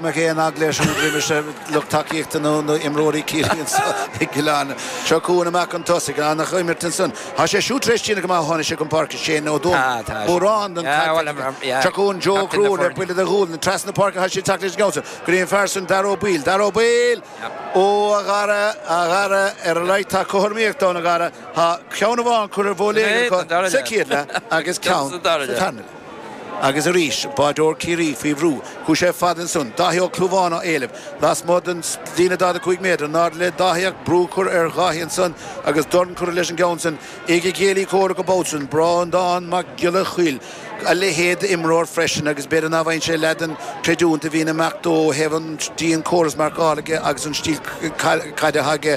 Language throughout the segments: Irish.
go mbeadh aon eagla air siúd roimis lucht tacaíochta nó imreoirí Chiarraí anso i gCill Airne. Seo chugainn amach chun tosaigh, an-imirt ansan. Tá sé siúd tar éis déanamh go maith ó tháinig sé chun páirce, Shane Ó Dónaill. Mórán den chaid. Seo chugainn Joe Ó Conchúir le buille de ghualainn trasna na páirce. Tá sé ag teacht leis an gceann san. Go dtí an fear san, Dara Ó Baoill. Dara Ó Baoill! Ó, a Dhara, a Dhara, ar a laghad tá cothromaíocht ann, a Dhara. Tá ceann amháin curtha ar bhuille éigin acu sa chéad leath agus ceann sa tarna leath. Agus arís, báideoir Chiarraí faoi bhrú. Chuaigh sé fada ansan. Dáithí Ó Clúmháin á éileamh. Lasmuigh den líne 45 méadar. In airde le Dáithí ach brú curtha ar Dháithí ansan agus dorn curtha leis an gceann san ag a chéilí comhraic an babhta san, Breandán Mac Giolla Choill. A leithéid d'imreoir freisin agus b'fhéidir ná bhfaigheann sé leath den chreidiúint a bhíonn ag imeacht dó ó thaobh an dian córas marcála aige agus an stíl caide atá aige.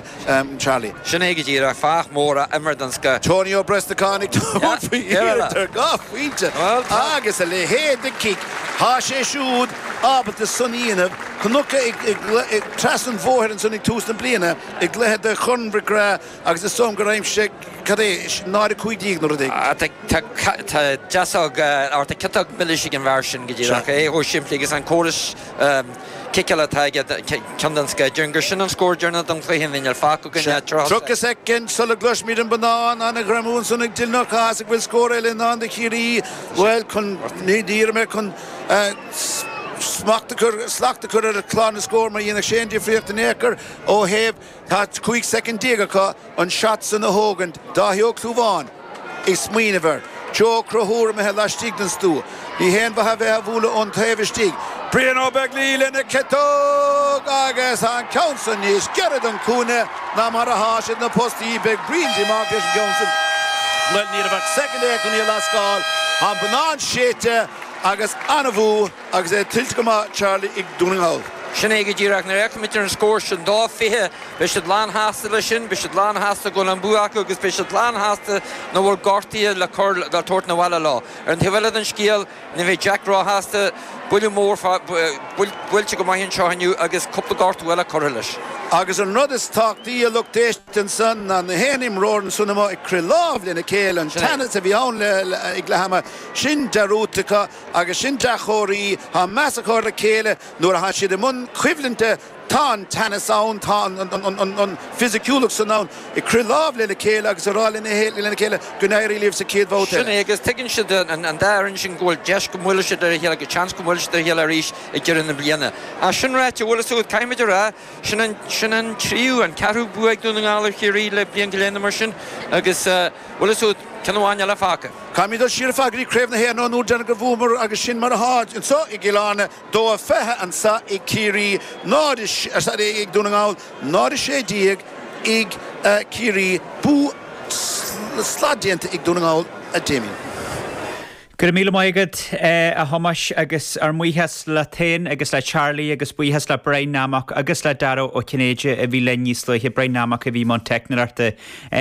Charlie. Sin é go díreach, fear mór a imir den scoth. Tony Ó Brosnacháin ag tabhairt faoi iarracht ar gach pointe agus a leithéid de chic. Tá sé siúd ábalta san a dhéanamh. Chonac é trasna an bhóthair ansan ag tús na bliana i gcluiche de Chorn McGrath agus is dóigh liom gur aimsigh sé, cad é, 0-15 nó rud éigin. Tá deasóg, or tá ciotóg milis ag an bhfear sin go díreach. É chomh simplí agus an córas. Ciceála atá aige, ceann den scoth. Déarfainn gur sin an scór deireanach don chluiche, níl fágtha againn ach 30 30 soicind sula gcloisfimid an bonnán an-ghreamú ansan ag Dylan Ó Cathasaigh bhfuil scór eile i ndán do Chiarraí. Bhuel, chun, ní déarfaidh mé chun smacht a chur, slacht a chur ar chlár na scór mar dhéanfadh sé an difríocht in aon chor ó thaobh, tá 15 soicind acu. an shot san a thógaint, Dáithí Ó Clúmháin ag smaoineamh air. Joe Ó Conchúir imithe laistigh den stua. Ní haon mhaith a bheith á bhualadh ón taobh istigh. Brian Ó Beaglaoi lena chiotóg agus an ceann san níos giorra don chúinne ná mar atá sé do na postaí. Beidh Brian díomách leis an gceann san. Bhuel, ní raibh ach soicind é chun í a lascáil. Tá an bonnán séidte agus an-bhua. Agus é tuillte go maith, Charlie, ag Dún na nGall. Sin é go díreach. Nuair a fhéachaimid ar an scór sin, 2-20, beidh siad lán-shásta leis sin, beidh siad lán-shásta go bhfuil an bua acu agus beidh siad lán-shásta nach bhfuil gortuithe le cur, le tabhairt 'na bhaile leo. Ar an taobh eile den scéal, ní bheidh Jack róshásta, buille mór, buailte go maith anseo inniu agus cúpla gortú eile curtha leis. Agus an rud is tábhachtaí, a lucht éisteachta ansan, ná na haon imreoir ansan amuigh ag crith lámh lena chéile, an teannas a bhí ann ag leath ama, sin dearúdta acu. Agus sin dea-chomhartha, tá meas acu ar a chéile nuair atá siad i mbun coimhlinte, tá an teannas ann, tá an fisiciúlacht san ann, ag crith lámh lena chéile agus ag rá lena chéile go n-éirí libh sa chéad bhabhta eile. Sin é, agus tuigeann siad, an dá fhoireann sin, go bhfuil deis go mbuailfidh siad ar a chéile, go seans go mbuailfidh siad ar a chéile arís ag deireadh na bliana. Ach sin ráite, bhfuil fhios agat, caithfimid a rá, sin an, sin an tríú, an ceathrú bua ag Dún na nGall ar Chiarraí le bliain go leith nó mar sin agus, bhfuil fhios agat, ceann amháin eile fágtha. Caithfimid dul siar ar fad go dtí Craobh na hÉireann ón uair deireanach gur bhuamar agus sin mar atá anseo i gCill Airne, 2-20 anseo ag Ciarraí, 0, sorry, ag Dún na nGall, 0-16 ag Ciarraí. Bua sladéanta ag Dún na nGall, a Damien. Go raibh míle maith agat, a Thomáis, agus ár mbuíochas leat féin agus le Charlie agus buíochas le Brian Nammock agus le Dara Ó Cinnéide a bhí linn níos luaithe, Brian Nammock a bhí i mbun teicneoireachta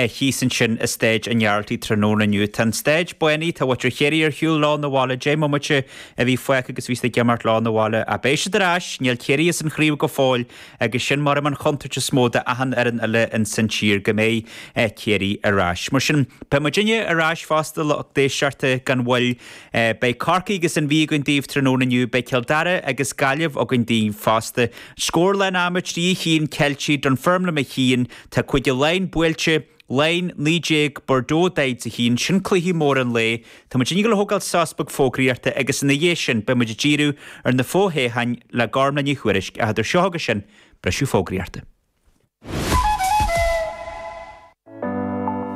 thíos ansin i Staid an Ghearaltaigh tráthnóna inniu. Tá an staid bánaithe, tá muintir Chiarraí ar shiúl leo 'na bhaile, 10 mbomaite a bhí fágtha agus bhí siad ag imeacht leo 'na bhaile. Ach beidh siad ar ais, níl Ciarraí as an chraobh go fóill agus sin mar an chontúirt is mó d'achan fhoireann eile ins an tír, go mbeidh Ciarraí ar ais. Mar sin, beidh muidinne ar ais fosta, lucht éisteachta, gan mhoill. Beidh Corcaigh agus an Mhí againn daoibh tráthnóna inniu, beidh Cill Dara agus Gaillimh againn daoibh fosta. Scór lán ama 3 1 Ceiltigh, Dunfermline 1, tá Cúige Laighean buailte, Laighin 19, Bordeaux 41, sin cluiche mór an lae. Tá muid ag dul a thógáil sos beag fógraíochta agus ina dhiaidh sin beidh muid ag díriú ar na fo-thoghcháin le Gormlaith Ní Thuairisg ach idir seo agus sin, briseadh fógraíochta.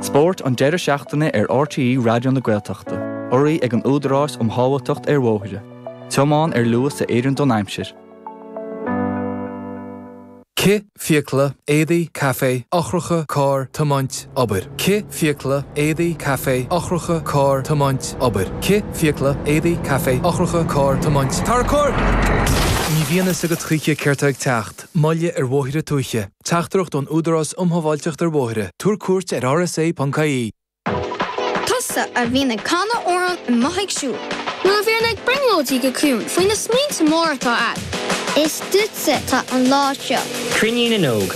Spórt an deireadh seachtaine ar RTÉ Raidió na Gaeltachta, urraithe ag an Údarás um Shábháilteacht ar Bhóithre. Tiomáin ar luas a oireann don aimsir. Cith, fiacla, éadaí, caife, eochracha, carr, tiomáint, obair. Cith, fiacla, éadaí, caife, eochracha, carr, tiomáint, obair. Cith, fiacla, éadaí, caife, eochracha, carr, tiomáint, Tar cor! Ní bhíonn fhios agat choíche céard tá ag teacht. Moilligh ar bhóithre tuaithe. Teachtaireacht ón Údarás um Shábháilteacht ar Bhóithre. Tabhair cuairt ar rsa.ie. Tusa a bhíonn ag canadh amhrán amuigh ag siúl. Nó a bhíonn ag brionglóidí go ciúin faoi na smaointe móra atá a'd. Is duitse atá an lá seo. Cruinniú na nÓg.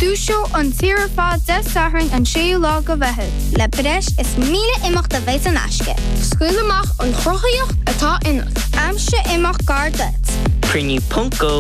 Dúiseoidh an tír ar fad Dé Sathairn an 6ú lá go Mheitheamh. Le breis is 1,000 imeacht a bheidh in aisce. Scaoil amach an chruthaíocht atá ionat. Aimsigh imeacht gar duit. Cruinniú ponc go.